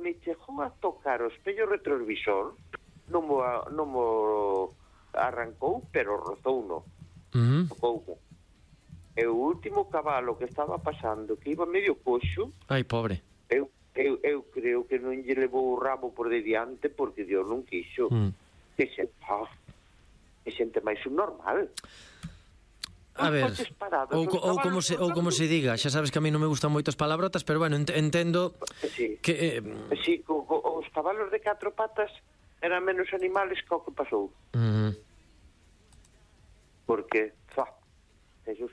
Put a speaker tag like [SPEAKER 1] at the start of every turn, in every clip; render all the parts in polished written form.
[SPEAKER 1] me chegou a tocar o espello retrovisor, non mo arrancou, pero rozouno. Tocouno. E o último cabalo que estaba pasando, que iba medio coxo...
[SPEAKER 2] Ai, pobre.
[SPEAKER 1] Eu creo que non lle levou o rabo por de diante porque Dios non quixo. Que xente máis subnormal.
[SPEAKER 2] A ver, ou como se diga, xa sabes que a mí non me gustan moito as palabrotas, pero bueno, entendo que...
[SPEAKER 1] Sí, os cabalos de 4 patas eran menos animales que o que pasou. Porque, Jesús...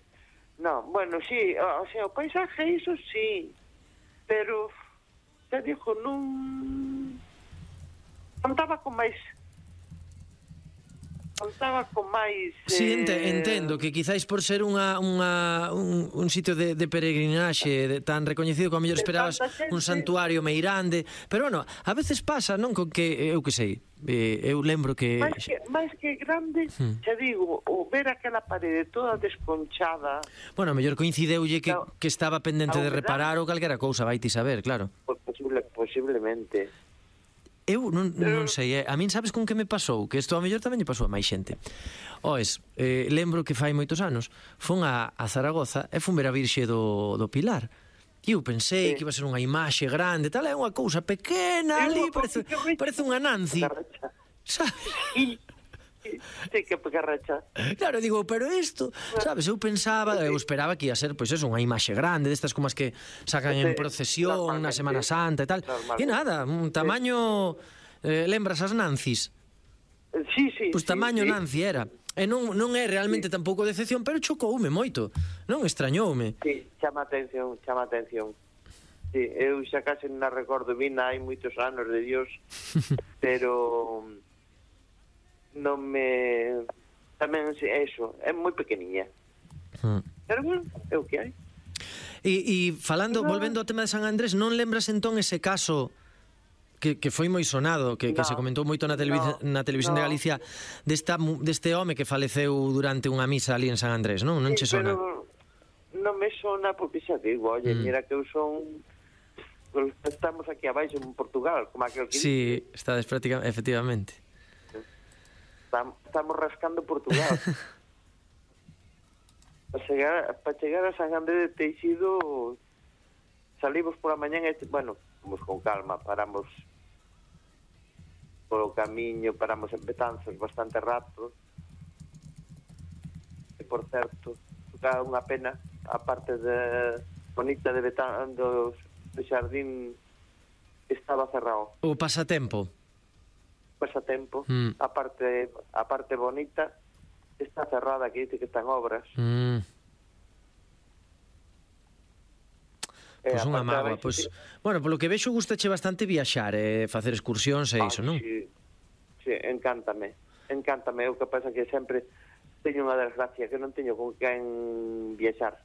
[SPEAKER 1] No, bueno, sí, o sea, o paisaje, iso sí, pero, te digo, non contaba con máis...
[SPEAKER 2] Sí, entendo que quizáis por ser un sitio de peregrinaxe tan recoñecido que ao mellor esperabas un santuario meirande, pero bueno, a veces pasa, non, con que eu que sei, eu lembro que
[SPEAKER 1] máis que grande, te digo, o ver aquela parede toda desconchada.
[SPEAKER 2] Bueno, a mellor coincideulle que estaba pendente de reparar ou calquera cousa, vai ti saber, claro.
[SPEAKER 1] Posiblemente.
[SPEAKER 2] Eu non sei, a min sabes con que me pasou? Que isto a mellor tamén lle pasou a máis xente. Oes, lembro que fai moitos anos fun a Zaragoza e fun ver a Virxe do Pilar. E eu pensei que iba a ser unha imaxe grande, tal, é unha cousa pequena ali, parece unha Nancy. Sabes?
[SPEAKER 1] Sí, que pegarracha.
[SPEAKER 2] Claro, digo, pero isto, sabes, eu pensaba, eu esperaba que ia ser, pois eso, unha imaxe grande, destas como as que sacan en procesión na Semana Santa e tal. E nada, un tamaño, lembras as Nancis?
[SPEAKER 1] Sí.
[SPEAKER 2] Pois tamaño Nancy era. E non é realmente tampouco decepción, pero chocoume moito, non extrañoume.
[SPEAKER 1] Sí, chama atención. Sí, eu xa case non recordo bien, hai moitos anos de Dios, pero... non me... Tamén, eso, é moi pequeniña. Pero bueno, é o que hai.
[SPEAKER 2] E falando, volvendo ao tema de San Andrés, non lembras entón ese caso que foi moi sonado, que se comentou moito na televisión de Galicia, deste home que faleceu durante unha misa ali en San Andrés, non? Non che sona?
[SPEAKER 1] Non me sona porque xa digo, oye, mira que eu son... Estamos aquí abaixo en Portugal, como aquel que...
[SPEAKER 2] Sí, estades prácticamente, efectivamente.
[SPEAKER 1] Estamos rascando Portugal. Para chegar a San Andrés de Teixido salimos por a mañán, bueno, vamos con calma, paramos polo camiño, paramos en Betanzos bastante rato. E por certo, dá unha pena, a parte de bonita de Betanzos, do xardín estaba cerrado.
[SPEAKER 2] O pasatempo.
[SPEAKER 1] A parte bonita está cerrada, que dice que están obras.
[SPEAKER 2] Pois unha mágoa, pois, bueno, polo que vexo gustache bastante viaxar e facer excursións e iso, non?
[SPEAKER 1] Sí, encántame, o que pasa que sempre teño unha desgracia que non teño con quen viaxar.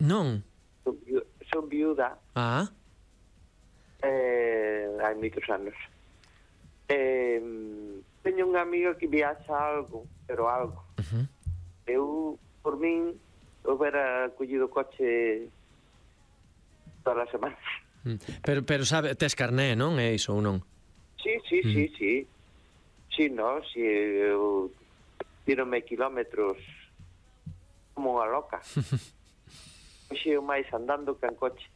[SPEAKER 2] Non?
[SPEAKER 1] Son viuda.
[SPEAKER 2] Hai
[SPEAKER 1] moitos anos. Teño unha amiga que viaxa algo, pero algo. Eu, por min, houbera collido coche todas as semanas.
[SPEAKER 2] Pero sabe, tes carné, non? É iso ou non?
[SPEAKER 1] Sí. Sí, no, si eu tirome kilómetros como unha loca. Hoxe eu máis andando que en coche.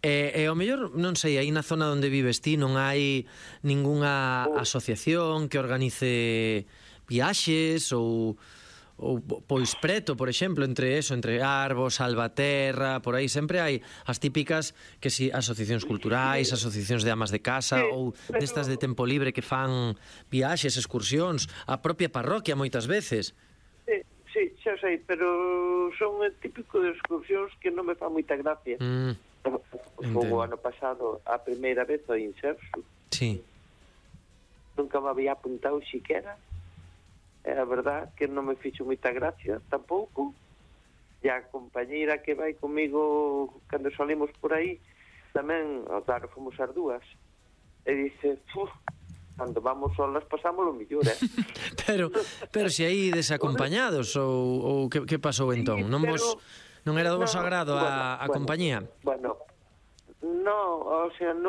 [SPEAKER 2] E ao mellor, non sei, aí na zona onde vives ti non hai ningunha asociación que organice viaxes ou pois preto, por exemplo, entre Arbos, Salvaterra, por aí sempre hai as típicas que si asociacións culturais, asociacións de amas de casa ou destas de tempo libre que fan viaxes, excursións, a propia parroquia moitas veces.
[SPEAKER 1] Sí, xa sei, pero son o típico de excursións que non me fa moita gracia. O ano pasado a primeira vez ao Inserso.
[SPEAKER 2] Sí.
[SPEAKER 1] Nunca me había apuntado siquera. É a verdad que non me fixo moita gracia tampouco. E a compañeira que vai comigo cando salimos por aí tamén, claro, fomos as dúas. E dice, cando vamos solas pasamos o mellor,
[SPEAKER 2] Pero se aí desacompañados ou que pasou entón? Non era do vosso agrado a compañía?
[SPEAKER 1] Bueno, non, o sea, non